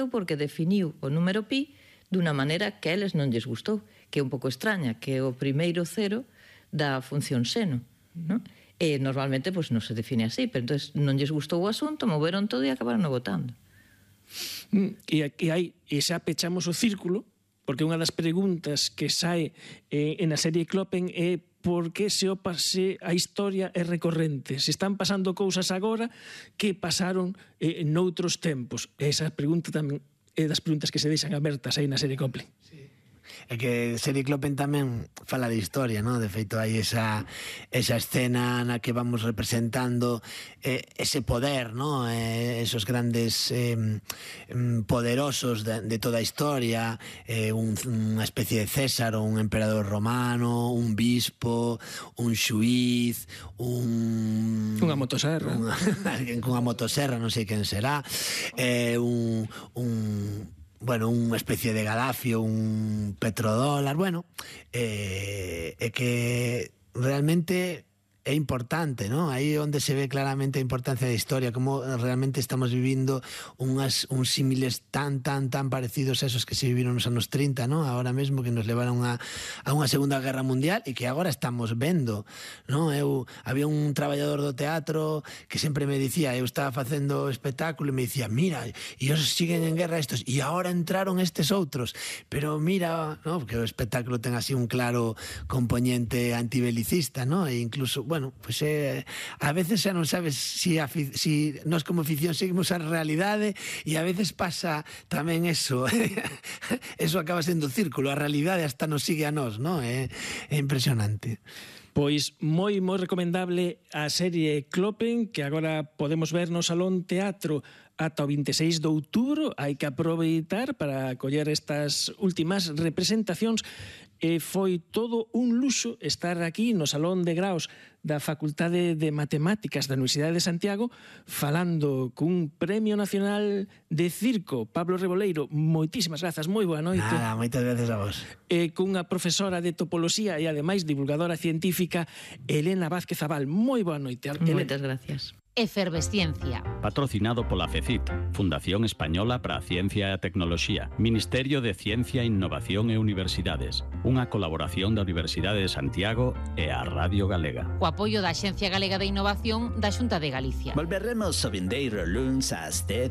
porque definiu o número pi dunha maneira que a eles non lles gustou, que é un pouco extraña, que é o primeiro cero da función seno, non? E normalmente non se define así, pero entón non lles gustou o asunto, moveron todo e acabaron votando. E xa pechamos o círculo, porque unha das preguntas que sae na serie Kloppen é por que a historia é recorrente. Se están pasando cousas agora que pasaron noutros tempos. Esa pregunta tamén é das preguntas que se deixan abertas aí na serie Kloppen. É que serie Kloppen tamén fala de historia, non? De feito, hai esa escena na que vamos representando ese poder, non? Esos grandes poderosos de toda a historia, unha especie de César, un emperador romano, un bispo, un xuiz, unha motoserra. Alguén cunha motoserra, non sei quen será, unha especie de Gaddafi, un petrodólar, é que realmente é importante, non? Aí onde se ve claramente a importancia da historia, como realmente estamos vivindo uns símiles tan parecidos a esos que se viviron nos anos 30, non? Agora mesmo, que nos levaron a unha Segunda Guerra Mundial e que agora estamos vendo, non? Había un traballador do teatro que sempre me dicía, eu estaba facendo espectáculo e me dicía, mira, e os siguen en guerra estos, e agora entraron estes outros, pero mira, non? Porque o espectáculo ten así un claro componente antibelicista, non? E incluso a veces xa non sabes si nós como ficción seguimos a realidade, e a veces pasa tamén eso. Eso acaba sendo círculo, a realidade hasta nos sigue a nós, non? É impresionante. Pois moi recomendable a serie Kloppen, que agora podemos ver no Salón Teatro ata o 26 de outubro. Hai que aproveitar para coller estas últimas representacións. E foi todo un luxo estar aquí no Salón de Graos da Facultade de Matemáticas da Universidade de Santiago falando cun Premio Nacional de Circo, Pablo Reboleiro. Moitísimas grazas, moi boa noite. Nada, moitas gracias a vos. E cunha profesora de topoloxía e ademais divulgadora científica, Elena Vázquez Abal. Moi boa noite. Moitas gracias. Efervesciencia. Patrocinado pola FECIT, Fundación Española para a Ciencia e a Tecnoloxía, Ministerio de Ciencia, Innovación e Universidades, unha colaboración da Universidade de Santiago e a Radio Galega. O apoio da Axencia Galega de Innovación da Xunta de Galicia. Volveremos o vindeiro luns ás 10